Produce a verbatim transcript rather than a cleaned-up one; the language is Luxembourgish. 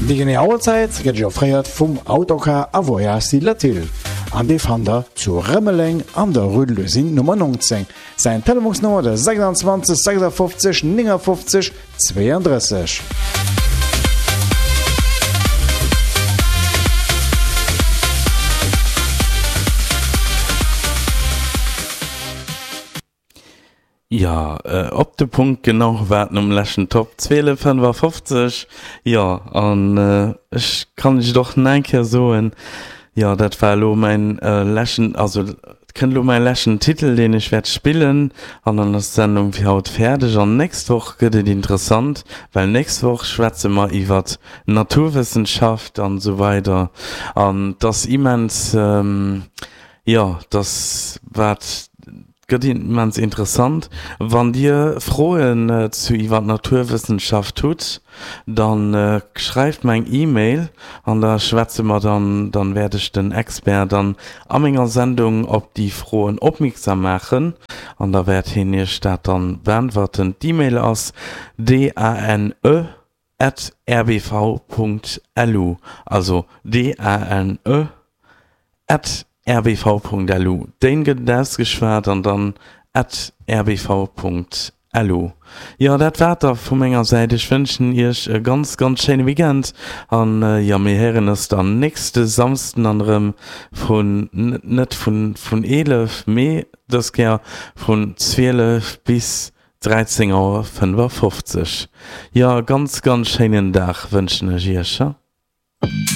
Déi genee Auerzäit gëtt iech offréiert vum Autocar a Voyages Latil an dee fannt der zu Rëmeleng an der Rue de l'Usine Nummer neunzéng. Säin Telefonsnummer de sechsundzwanzeg sechsundfünfzig neunundfünfzig zweiunddrësseg. Jo, op de Punkt genau war et nom leschten Top, zwielef fënnefafofzeg. Jo, an ech kann iech et och nach eng Kéier soen, jo, dat war elo mäin leschten, also et kënnt elo mäi leschten Titel, deen ech wäert spillen, an dann ass d'Sendung fir haut fäerdeg. An nächst Woch gëtt et interessant, well nächst Woch schwätze mer iwwert Naturwëssenschaft an esou weider an 't ass immens, jo, 't ass wat. Gëtt immens interessant. Wann dir Froen zu iwwer d'Naturwëssenschaft hutt, dann schreift mer eng E-Mail an da schwätze mer dann, dann wäert ech den Expert dann a menger Sendung op déi Froen opmierksam maachen an da wäert hien iech dat dann beäntwerten. D'E-Mail ass dane at rbv Punkt lu, also dane at rbv Punkt lu. Déin gëtt et ausgeschwat an dann at rbv Punkt lu. Jo, dat war et da vu menger Säit. Ech wënschen iech e ganz, ganz schéine Weekend an jo, mir héieren eis dann nächste Samsden dann erëm vun, net vun, vun eelef, mee dës Kéier vun zwielef bis dräizéng Auer fënnefafofzeg. Jo, e ganz, ganz schéinen Dag wënschen ech iech.